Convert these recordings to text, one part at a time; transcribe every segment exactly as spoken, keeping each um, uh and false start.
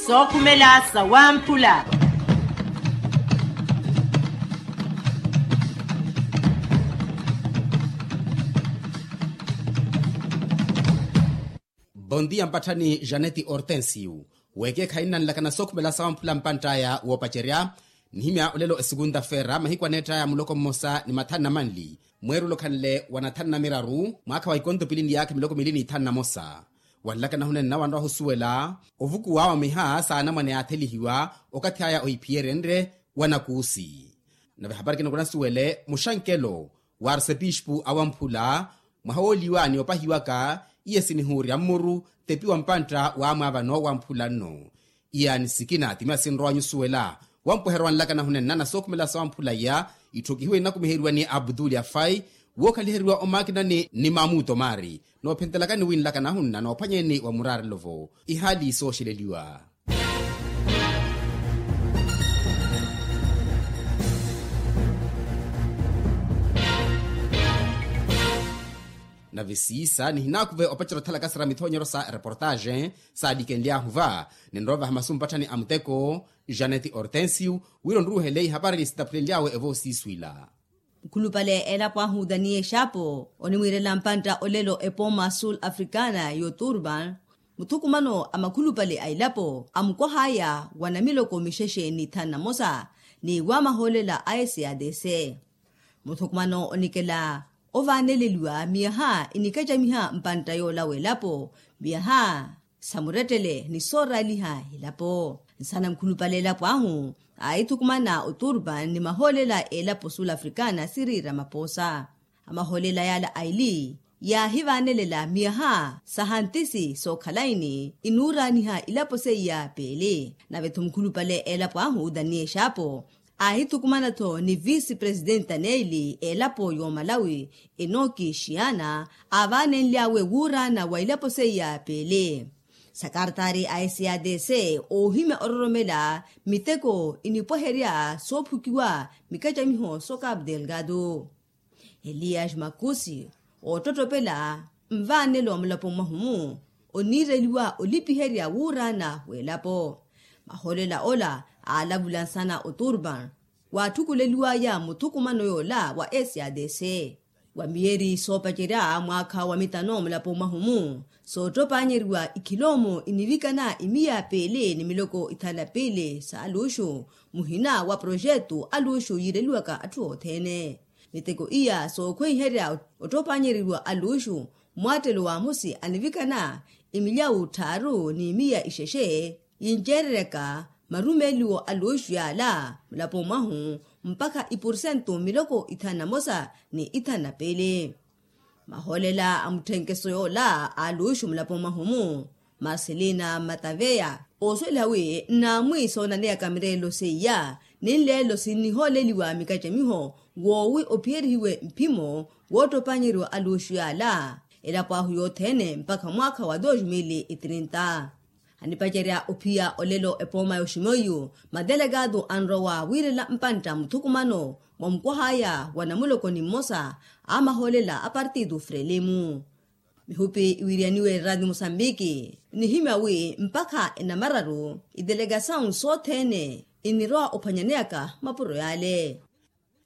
Sookhumela sawamphula. Bondia mpatthani janeti hortensio, weekeekhayi nnanlakana sookhumela sawamphula mpantt'aya woopacerya. Nihimya olelo esikunta-feera mahiku aneett'aya muloko mmosa ni mathanu na manli, mweerule okhanle wa nathanu na miraru mwaakha wa ikonto pili ni yaakha miloko miili ni ithanu na mosa. Wanlakana hunenna wanrowa ohusuwela ovukuwa wa miha s'anamwane yaathelihiwa okathi aya ohiphiyerenrye wa nakuusi. Nave hapari kinokonasuwele muxankelo wa arsepispu awamphula mwaha wooliwa ni opahiwaka. Iye sinihuurya mmuru tepi wa mpantta waamwaavano wamphula nno. Iyaani sikina ti miya sinrowa nyusuwela wampweherya wanlakana hunenna na sookhumela sawamphula iya. Itthu kihiwa inakumiheriwa ni abduli afai wookhaliheriwa omakinani ni mamuto maari noophentelakani winlakana hunna noophwanyeeni wa muraarelo-vo ihaali sooxeleliwa. Nave siisa nihinaakuve opacerya othalaka sira mithoonyeryo sa ereportaaxe saalikenlyaahu va. Ninrovaha masu mpatthani a muteko janeti hortensio wira onruruhele ihapari sitaphulenly'awe evoosiiswila. Mukhulupale a elapo ahu daniel xapo onimwiirela mpantta olelo epooma sul africana y'oturban. Muthukumano a makhulupale a elapo amukwah'aya wa namiloko mixexe ni ithanu na mosa ni wamahoolela a sadc. Muthukumano onikela ovaaneleliwa miyaha inikacamiha mpantta yoola w'elapo miyaha sa murettele ni sooraaliha elapo. Nsana mukhulupale elapo ahu aahithukumana oturban ni mahoolela a elapo sul africana siriira mapoosa. Amahoolela yaala aili yaahivaanelela miyaha sa hantisi sookhalayi ni inuuraaniha ilapo seiya peeli. Nave-tho mukhulupale a elapo ahu daniel xapo aahithukumana-tho ni visi presidenta neeli a elapo y'omalawi enoki xiana aavaanenly'awe wuuraana wa ilapo seiya peeli. Sakartaari a sadc oohimya ororomela miteko inipweherya soophukiwa mikacamiho so capu delgado. Elias makusi oottottopela nvaanelo mulapo mwahu-mu oniireliwa olipiherya wuuraana w'elapo. Mahoolela ola aalavula nsana oturban waatthukuleliw'aya muthukumano yoola wa sadc wa miyeeri soopacerya mwaakha wa mitano mulapo mwahu-mu soottopanyeriwa ikhiloomo inivikana imiya peeli ni miloko ithanu na piili sa aluxu muhina wa proxetu aluxu yiireliwaka atthu othene. Miteko iya sookhweiherya ottoopanyereriwa aluxu mwaattelo wa amusi anivikana imilyawu tthaaru ni miya ixexe yinceereryaka marumeeliwo aluxu yaala mulapo mwahu mpakha ipursentu miloko ithanu na mosa ni ithanu na piili. Mahoolela a mutthenkeso yoola a aluxu mulapo mwahu-mu marcelina mataveya oosuweliha wi nnaamwi soonaneyaka mireelo seiya ni nleelo sinnihooleliwa mikacamiho woowi ophiyerihiwe mphimo woottopanyeriwa aluxu yaala elapo ahu yothene mpakha mwaakha wa dos mil e trinta. Anipacerya ophiya olelo epooma y'oximoiyu madelegado anrowa wiirela mpantta muthukumano mwa mukwah'aya wa namuloko ni mmosa a mahoolela a partitu frelimu. Mihupi iwiriyaniwe eradio mosambiki nihimya wi mpakha enamararu idelegasawu sothene inirowa ophwanyaneyaka mapuro yale.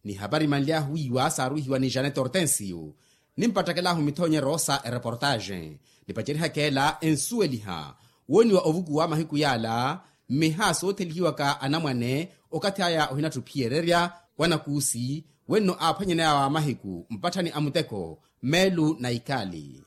Ni hapari manly'ahu wiiwa saaruhiwa ni janete hortensio nimpattakela-ahu mithoonyero sa ereportaaxe. Nipacerihaka ela ensuweliha wooniwa ovukuwa mahiku yaala mmiha soothelihiwaka anamwane okathi aya ohinatthu phiyererya wa nakuusi wenno aaphwanyaney'awe a mahiku mpatthani a muteko meelu na ikali.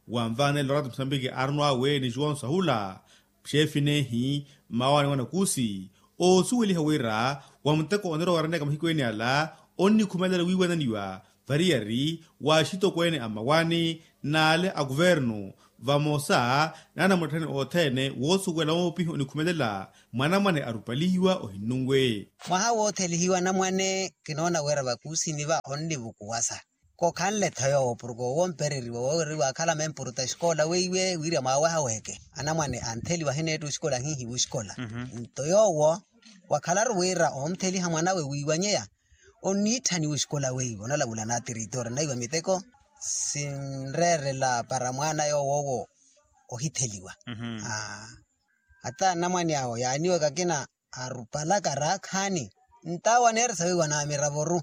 Wanvaanela orati musambiki aaruno awe ni juwonso ahula xeefi neehi mmawaani wa nakuusi oosuweliha wira wa muteko onirowa waraneyaka mahiku ene ala onnikhumelela wiiwananiwa variyari wa axitokweene a mmawaani n'ale a kuvernu vamosa n'anamutthani othene woosuwela woopiha onikhumelela mwanamwane arupalihiwa ohinnunwe. Mwaha woothelihiwa anamwane kinoona wira vakuusini va onnivukuwasa. Kokhanle-tho yoowo porke owo ompereriwa wooweriwa akhala mempuruta exikola weiwe wirya mwaaweha weke anamwane antheliwa ahineetta oxikola ahinhiwa oxikola. Nto yoowo wakhalaru wira oomtheliha mwanawe wiiwanyeya onniitthaniwa oxikola weiwe onalavula na tiritoori naiwa miteko sinreerela para mwaana yoowo owo ohitheliwa. Ata anamwane awo yaaniwaka akina arupalaka raakhaani. Ntawo aneeresa wiiwa na miravo-ru.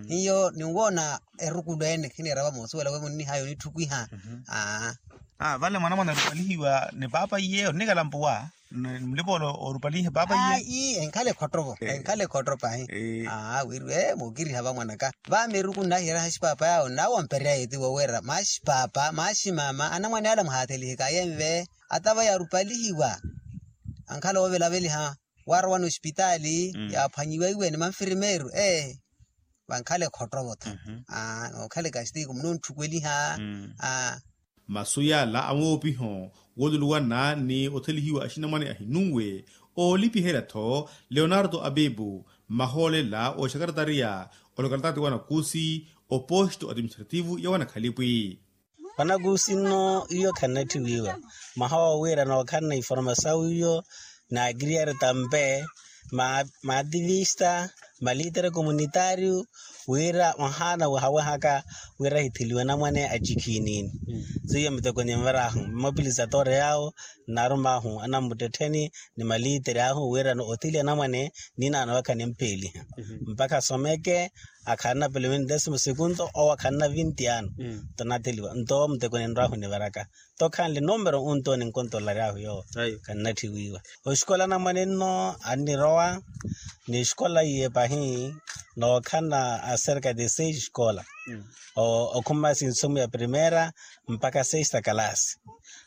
Hiyo ninwoona erukulo ene khiniira vamosuwela we munnihaya onitthukiha. Aa. Vale mwanamwane arupalihiwa ni paapa iye oninikala mpuwa. Mulipa ole orupalihe paapa iye. Enkhala ekhottovo enkhala ekhotto pahi. Aa wiriwe mookiriha vamwanaka. Vameruku nnahiyereha axipaapa yaawo nnawo ampereya yeetiwo wira maxi paapa maxi maama anamwane ala muhaathelihe kayenve. Ata vaya arupalihiwa ankhala oovelaveliha. Waarowa n'osipitaali yaaphwanyiwa iwe ni manfirimeeru ee. Vankhala ekhottovo-tho. Nookhala ekastiko munoontthukeliha. Masu yaala amwoopiho wooluluwana ni othelihiwa axinamwane ahinunwe oolipiherya-tho leonardo abibu mmahoolela oxakaratariya olokalitaati wanakusi oposto administrativu ya wanakhalipwi. Wanakusi nno iyo khannatthiwiiwa mwaha woowiira nookhanna informasawu iyo. Naakiriyari tampe maativista malitere komunitaariyu wira mwahaana wahawehaka wira ahitheliwe anamwane acikhiinini. Seiyo miteko nimvarahu mmapilizatore yaawo nnarumaahu anammuttettheni ni malitere ahu wirano otheliwa anamwane ninaano vakha nimpeeliha mpakha asomeke. Akhanna pelo vinti desimu sekunto owo akhanna vinti ano. Nto natheliwa nto muteko ninrwahu nivaraka nto khanle numero unto ninkontolaryahu yoowo. Kannatthiwiiwa oxikola anamwane nno annirowa ni xikola iye pahi nookhanna acerca de seis xikola okhuma sinsumu ya primera mpakha sexta kalasi.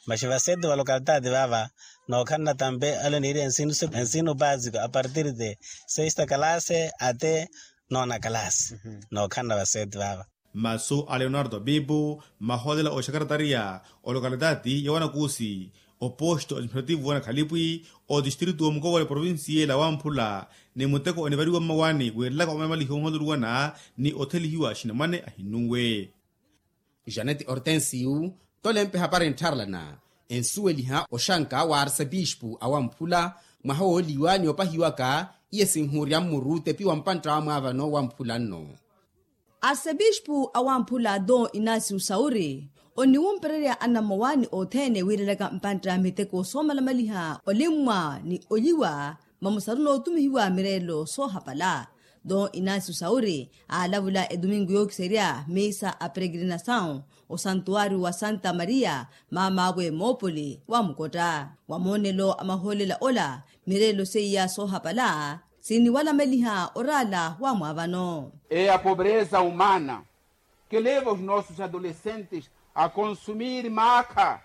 Maxi vaseti va lokalitaati vaava nookhanna tampe ale niiri ensino basiko apartir de sexta kalasi ate nona kalasi. Nookhanna vaseti vaava. Masu a leonardo abibu mahoolela oxakaratariya olokalitaati ya wanakusi oposto administrativu wanakhalipwi otistritu womukowela provincia ela wamphula ni muteko onivariwa mmawaani wiirelaka omalamalihi ohooluluwana ni othelihiwa axinamwane ahinunwe. Janeti hortensiyu tolempe hapari nttharalana ensuweliha oxanka wa arsepispu awamphula mwaha wooliwa ni opahiwaka iye sinhuurya mmuru tepiwa mpantta wa mwaavano wamphula nno. Arsepispu awamphula don inasiu sauri oniwumpererya anammawaani othene wiirelaka mpantta miteko soomalamaliha olimmwa ni oliwa mamusaru nootumihiwa mireelo soohapala. Don inasiu sauri aalavula etumingu yookiserya misa a peregrinasawu osantuwariyu wa santa mariya maamaawe moopoli wa mukotta wa moonelo a mahoolela ola. Mireelo seiya soohapala siniwalamaliha oraala wa mwaavano. E a pobreza humana ke leva os nossos adolescentes a consumir maakha.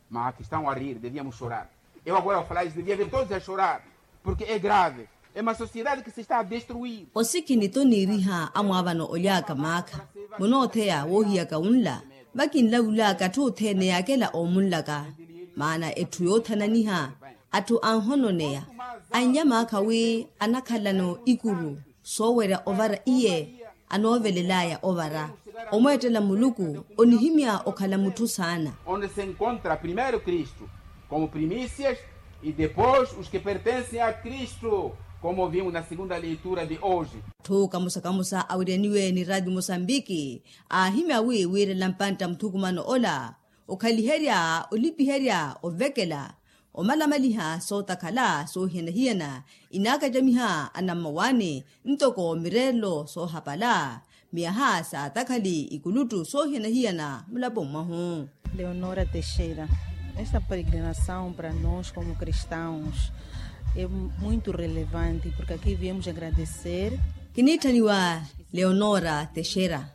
Maakha estão a rir deviamos chorar. Eu agora ao falar isso devia ver todos a chorar. Porque é grave. É uma sociedade que se está a destruir. Osikhini toniiriha amwaavano oly'aka maakha munootheya woohiyaka wunla vakinlavul'aka atthu othene yaakela oomunlaka. Maana etthu yoothananiha atthu anhononeya annya maakha wi anakhalano ikuru soowerya ovara iye anoovelel'aya ovara. Omweettela muluku onihimya okhala mutthu saana. Onde se encontra primeiro kristu como primícias e depois os que pertencem a kristu como vimos na segunda leitura de hoje. Atthu kamusa kamusa awiryaniwe ni raati musambiki aahimya wi wiirela mpantta muthukumano ola okhaliherya olipiherya ovekela omalamaliha sootakhala soohiyana-hiyana inaakacamiha anammawaani ntoko mireelo soohapala miyaha saatakhali ikuluttu soohiyana-hiyana mulapo mwahu. Leonora texeira esta peregrinasawu para nos como kristaus e muito relevante porke aqui viemos agradecer. Kiniitthaniwa leonora texeira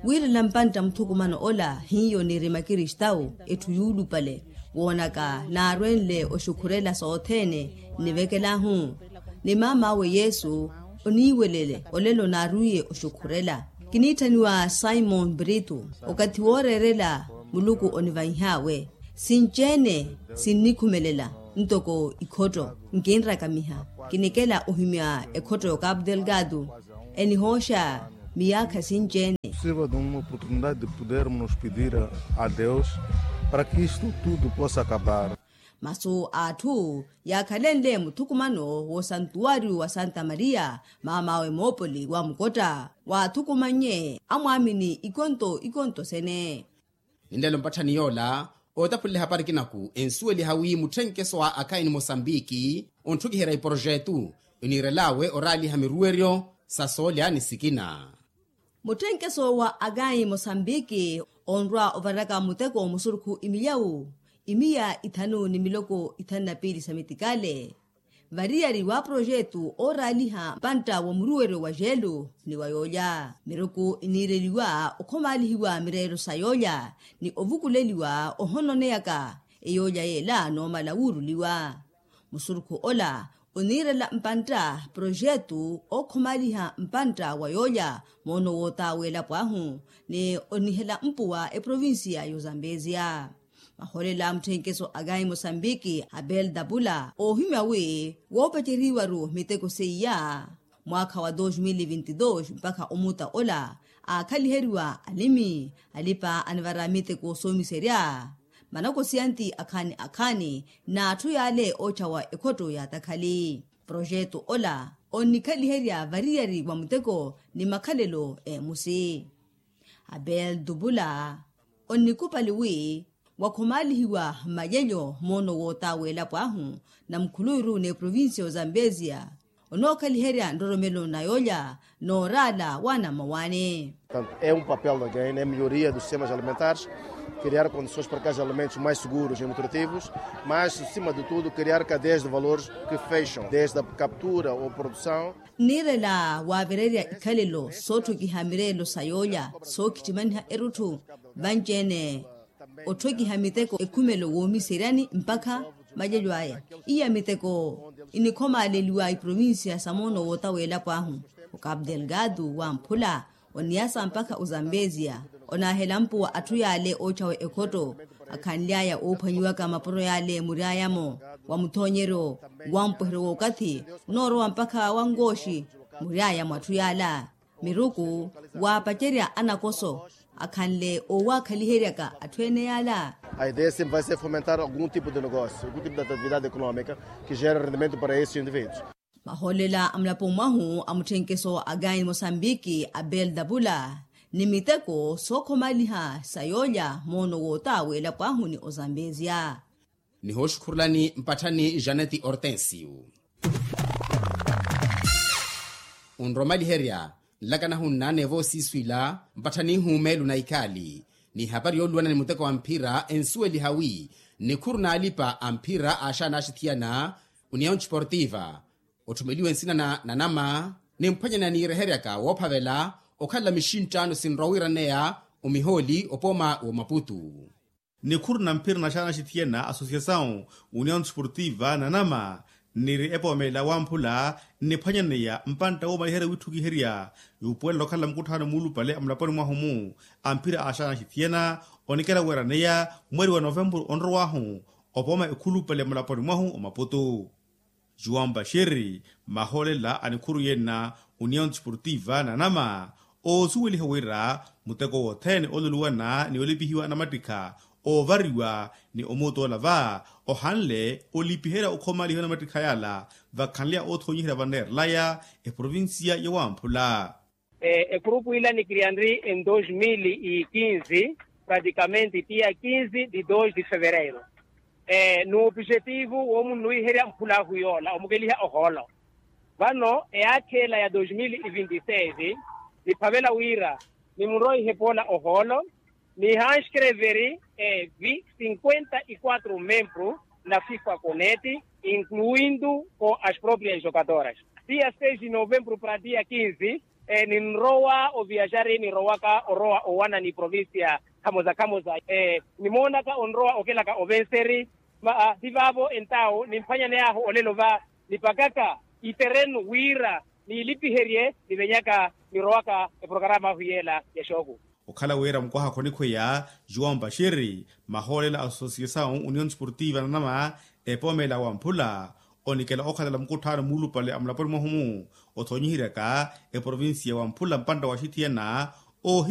wiirela mpantta muthukumano ola hiyo niiri makristawu etthu yuulupale woonaka naarwenle oxukhurela sothene nnivekel'ahu ni maam'awe yesu oniiwelele olelo naarwiiye oxukhurela. Kiniitthaniwa simon brito okathi wooreerela muluku onivanyih'awe sinci-ene sinnikhumelela ntoko ikhotto nkinrakamiha kinikela ohimya ekhotto y'okapu delgado enihooxa miyaakha sinci-ene. Sirva de uma oportunidade de podermos nos pedir a deus para que isto tudo possa acabar. Masu a atthu yaakhalenle muthukumano w'osantuwariyu wa santa mariya maam'awe moopoli wa mukotta waathukumannye amwaamini ikonto ikonto sene. Ninlelo mpatthani yoola Ootaphulela ehapari ekinaku ensuweliha wi mutthenkeso wa akhayi ni mosambiki ontthukiherya iporojetu oniirel'awe oraaliha miruweryo sa soolya ni sikina. Mutthenkeso wa akhayi mosambiki onrwa ovaraka muteko musurukhu imiyawu imiya ithanu ni miloko ithanu na piili sa mitikale. Variyari wa projetu ooraaliha mpantta wa muruweryo wa jeelu ni wa yoolya miruku iniireliwa okhomaalihiwa mireelo sa yoolya ni ovukuleliwa ohononeyaka eyoolya yeela noomala wuuruliwa. Musurukhu ola oniirela mpantta projetu ookhomaaliha mpantta wa yoolya moono woota w'elapo ahu ni onihela mpuwa eprovincia y'ozambezia. Mahoolela a mutthenkeso a kayi mosambiki abel dapula oohimya wi woopaceriwaru miteko seiya mwaakha wa dos mil vinti dos mpakha omuta ola aakhaliheriwa alimi alipa anivara miteko soomiserya manakosiyanti akhaani akhaani n'atthu yaale ootthawa ekhotto yaatakhali. Projeto ola onnikhaliherya variyari wa muteko ni makhalelo eemusi. Abel dupula onnikupali wi wakhomaalihiwa mmalelyo moono woota w'elapo ahu na mukhuluwiru n'eprovincia y'ozambezia onookhaliherya nroromelo na yoolya nooraala waana mmawaani. Portanto é um papel da gaina é melhoria dos sistemas alimentares, criar condições para que haja alimentos mais seguros e nutritivos, mas acima de tudo criar cadeias de valores que fecham desde a captura ou produção. Nniirela waavererya ikhalelo sootthokiha mireelo sa yoolya sookhittimaniha erutthu vanci-ene otthokiha miteko ekhumelo woomiseryani mpakha malelyo aya. Iya miteko inikhomaaleliwa iprovincia sa moono woota w'elapo ahu. Okapu delgado wamphula oniyasa mpakha ozambezia onaahela mpuwa atthu yaale ootthawa ekhotto akhanly'aya oophwanyiwaka mapuro yaale mury'aya-mo wa muthoonyeryo wampweheryo w'okathi onoorowa mpakha wankooxi mury'aya mwa atthu yaala miruku waapacerya anakoso akhanle oowaakhaliheryaka atthu ene yaala. A ideia sempre vai ser fomentar algum tipo de negócio, algum tipo de atividade econômica que gera rendimento para esses indivíduos. Mahoolela a mulaponi mwahu a mutthenkeso a kayi mosambiki abel dapula ni miteko sookhomaliha sa yoolya moono woota w'elapo ahu ni ozambezia. Nihooxukhurulani mpatthani janeti hortensio. Onromaliherya nlakanahu nnaaneva osiiswila mpatthani ihuumelu na ikhaali n'ihapari yooluwana ni muteko wa mphira ensuweliha wi nikhuru n'alipa a mphira aaxaana axithiyana union sportiva otthumeliwe nsina na nanama nimphwanyana niireheryaka woophavela okhalela mixinttaano sinrowa wiiraneya omihooli opooma w'omaputu. Nikhuru na mphira naxaana axithiyana associasawu union desportiva nanama niri epoomelela wamphula nniphwanyaneya mpantta woomaliherya wiitthukiherya yuupuwelela okhalela mukutthaano muulupale a mulaponi mwahu-mu a mphira aaxaana axithiyana onikela weeraneya mweri wa novempuru onrow'ahu opooma ekhulupale mulaponi mwahu omaputu. Juan bashir mahoolela a nikhuru yenna union desportiva nanama oosuweliha wira muteko wothene ooluluwana ni olipihiwa anamattikha oovariwa ni omuutoola va ohanle olipiherya okhomalihiwa anamattikha yaala vakhanleya oothoonyiherya vaneerelaya eprovincia ya wamphula. Ekhurupu ila nikiriyanri en dos mil e quinze praticamente tia quinze de dos de fevereiro. N'opujetivu woomunnuwiherya mphulaahu yoola omukeliha ohoolo. Vano eyaakha ela ya dos mil e vinte e seis niphavela wira nimunrowa ihepoola ohoolo nihanskreveri evi cinquenta e quatro membru na fifa coneti incluindu ko as proprias jogadoras. Tia seis de novembru para tia quinze ninrowa oviaxari nirowaka orowa owana ni provincia khamoza khamoza nimoonaka onrowa okelaka ovenseri. Ti vaavo entawo nimphwanyaney'ahu olelo va nipakaka iterenu wira niilipiherye nivenyaka nirowaka eprokarama ahu yeela ya xooku. Okhala wira mukwaha khonikhweya juwao mpashiri mahoolela a associasawu union sportiva nanama epoomela wamphula onikela okhalela mukutthaano muulupale a mulaponi mwahu-mu othoonyiheryaka eprovincia wamphula mpantta wa xithiyana oohimya